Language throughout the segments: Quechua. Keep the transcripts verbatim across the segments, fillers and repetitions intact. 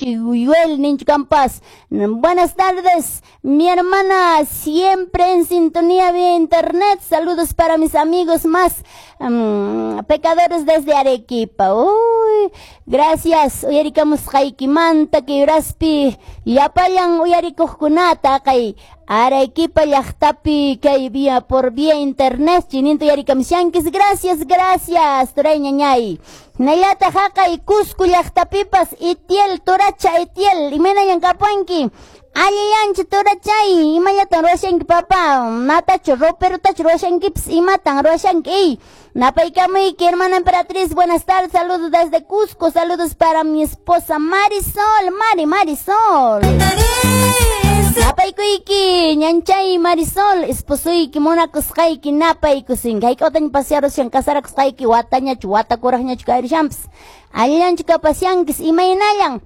ninchu Yuel ninchu kampas. Buenas tardes, mi hermana, siempre en sintonía vía internet. Saludos para mis amigos más um, pecadores desde Arequipa. Uy, gracias. Uyarikamusqaykimanta kay uraspi llapallan uyarikuqkunata kay Arequipa llaqtapi kay vía por vía internet chininta uyarikamushankichis. Gracias, gracias, turay ñañay. Hinallataq haqay Cusco llaqtapipas Itiel turacha Itiel imaynallan kapuanki. Allillanchu turachay, imallatan ruwashanki papá, natachu roperotachu ruwashankipas, imatan ruwashanki. Napaykamuyki, hermana emperatriz, buenas tardes, saludos desde Cusco, saludos para mi esposa Marisol, Mari, Marisol. Napaykuyki, ñanchay Marisol, esposuyki, munakusqayki, napaykusinki. Hayk'awtaña pasearushan, casarakusqayki, watañachu, watakuraqñachu kayrishanpas. Allillanchu kapasyankis, imaynallan.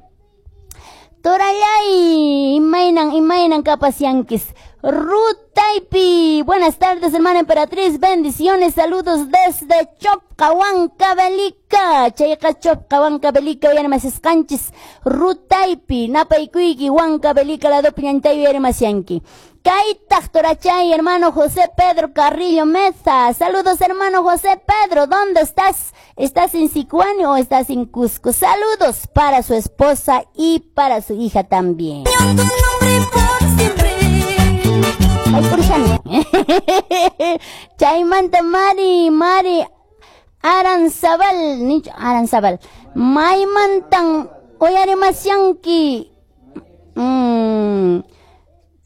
Torallay, imaynan, imaynan kapasyankis. Rutaypi, buenas tardes, hermana emperatriz, bendiciones, saludos desde Chopca, Huancavelica. Chayqa Chopca, Huancavelica, uyarimasisqanchis. Rutaypi, napaykuyki, Huancavelica, ladopi ñantay uyarimasyanki. Kaytaq torachay, hermano José Pedro Carrillo Meza. Saludos, hermano José Pedro. ¿Dónde estás? ¿Estás en Sicuani o estás en Cusco? Saludos para su esposa y para su hija también. Ay, purishani. Chaymanta Mari, Mari Aranzabal, nicho Aranzabal. Maymantan uyarimasyanki. Mm.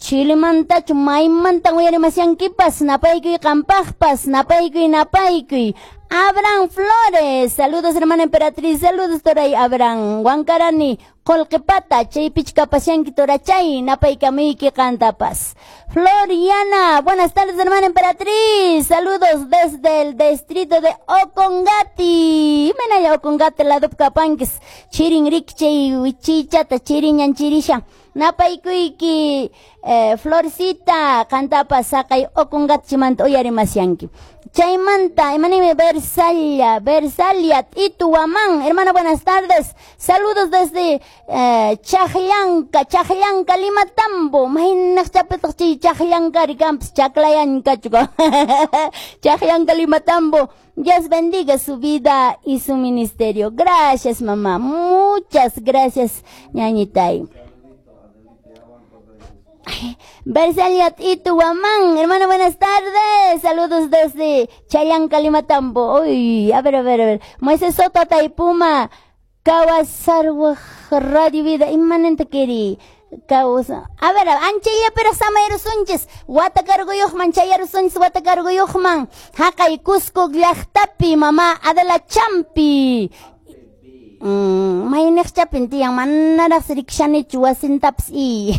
Chilemantachu maymantan uyarimasyankipas, napaykuy qampaqpas, napaykuy, napaykuy. Abraham Flores, saludos hermana emperatriz, saludos toray Abraham. Huancarani, Qolqepata, chaypich kapasyanki torachay, napaykamuyki qantapas. Floriana, buenas tardes hermana emperatriz, saludos desde el distrito de Ocongati. Imaynalla Ocongati ladup kapankis, chirin rikchay wichichata, chirinñan chirisha. Napaykuyki, eh, Florcita, qantapas saqay Ocongati uyarimasyanki. Chaymanta, imanimi Versalia, Versalia, Itu Huamán, hermana, buenas tardes. Saludos desde eh, Chajllanca, Chajllanca, Lima Tambo. Maynaq chapitaq chay Chajllanca rikampas, Chaclayanca, chuko. Chajllanca, Lima Tambo. Dios bendiga su vida y su ministerio. Gracias, mamá. Muchas gracias, ñañitay. Versalia Itu Huamán, hermano, buenas tardes. Saludos desde Chayanca, Lima Tambo. Uy, a ver, a ver, a ver. Moisés Soto, Taipuma, Kawasarwa, Radio Vida, inmanente keri. Causa. A ver, anchaya pero samayrusunchis, wata carguyuqman chayarusunchis, wata carguyuqman. Haqay Cusco llaqtapi, mamá Adela Champi. Mm, mayniq chapin tiyan manaraq rikshanichu wasintapas i.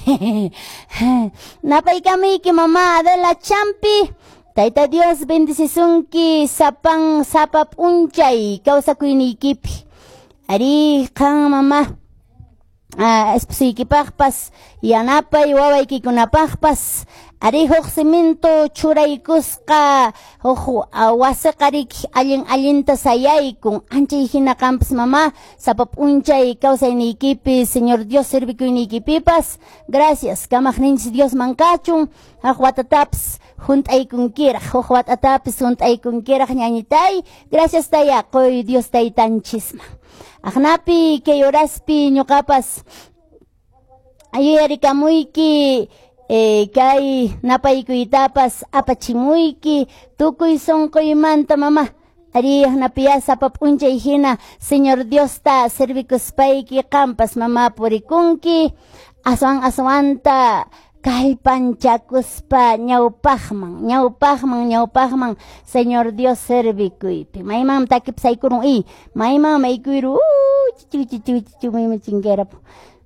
Napaykamuyki mamá Adela Champi. Tayta Dios bendicisunki sapan sapa p'unchay kawsakuyniykipi. Ari qan mamá. Ah, esposuykipaqpas yanapay wawaykikunapaqpas ari huk cemento churaykusqa huk wasiqa riki allin allinta sayaykun anchay hina qampas mamá sapa p'unchay kawsayniykipi Señor Dios servikuyniykipipas. Gracias kamaqninchis Diosman kachun huk watatapas hunt'aykunkiraq huk watatapis hunt'aykunkiraq ñañitay. Gracias taya qoy Dios taytanchisman. Aqnapi kay horaspi ñuqapas yuyarikamuyki eh, kay napaykuytapas apachimuyki tukuy sunquymanta mamá. Ari aqnapiya sapa p'unchay hina Señor Diosta servikuspayki qampas mamá purikunki aswan aswanta kallpanchakuspa ñawpaqman ñawpaqman ñawpaqman Señor Dios servikuypi. Mayman takipas aykurun i mayman maykuyru chichu chichu chichu mayman chinkarapu.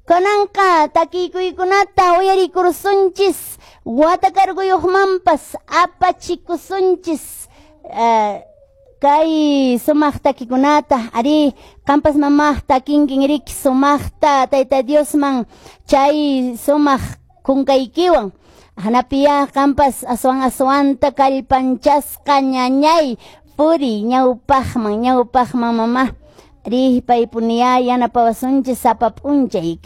Kunanqa takiykuykunata uyarikurusunchis wata carguyuqmanpas apachikusunchis eh, kay sumaq takikunata. Ari qampas mamá takinkin riki sumaqta Tayta Diosman chay sumaq kunkaykiwan. Hanapiya qampas aswan aswanta kallpanchasqa ñañay puri ñawpaqman ñawpaqman mamá. Ari paypuniya yanapawasunchis sapa p'unchay.